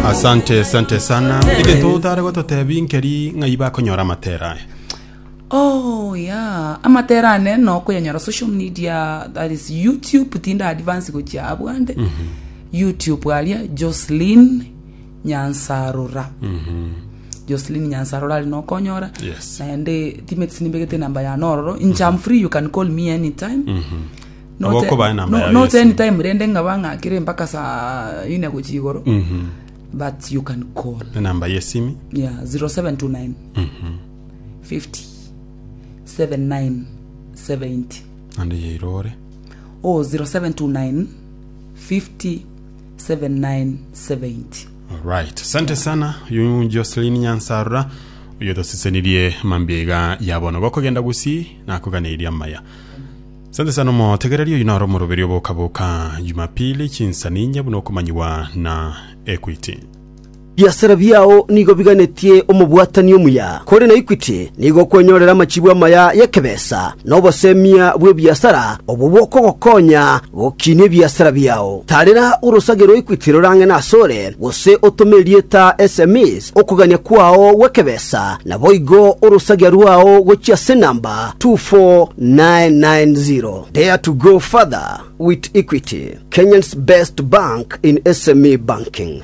Asante asante sana. Egento otare gototebi nkeri ng'ai bakonyora amatera aya. Oh yeah, amatera ane nokoyanyora social media that is YouTube tinda advance gochia abwande YouTube aria Jocelyn Nyansarora Jocelyn Nyansarora aria nokonyora Yes. naende timeti nimbegete enamba yane ororo inche am free you can call me anytime Not- Nabo okobaa enamba no- yago not ya simu. anytime rende ng'aba ng'akire mpaka saa ine gochia igoro but you can call Enamba yesimi. yeah 0729 50 79 70 Naende yairore. oh 0729 50 79 70 Alright. Asante sana uyu Jocelyn Nyansarura oyo tosesenirie mambia iga ya bono gokogenda gusii nakoganeirie amaya. Asante sana omotegereri oyu naro omoroberi oboka boka Jumapili chinsa ninye buna okomanyiwa na Equity. Ebiasara biao nigo biganetie omobwatani omuya. Kore na Equity nigo okwenyorera amachibu amaya y'ekebesa na obosemia bw'ebiasara obwo bokogokonya gokinia ebiasara biao. Tarera orosage rwa Equity rorang'ene asore, gose otome erieta SMEs okogania kwao gw'ekebesa, naboigo orosagia rwao gochia ase enamba 24990. Dare to go further with Equity, Kenya's best bank in SME banking.